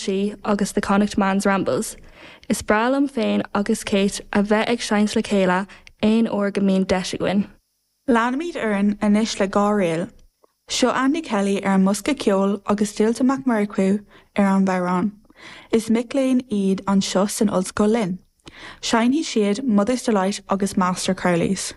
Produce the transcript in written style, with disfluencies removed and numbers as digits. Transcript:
Sí agus The Connacht Man's Rambles. Is breá liom féin agus Kate a bheith ag seinnt le chéile aon uair go mbíonn deis againn. Leanfaimid orainn anois le dhá ríl. Seo Andy Kelly ar an mbosca ceoil agus Dualta Mac Murchú ar an bhodhrán. Is mic léinn iad anseo san ollscoil linn. Seinnfidh siad Mother's Delight agus Master Crowley's.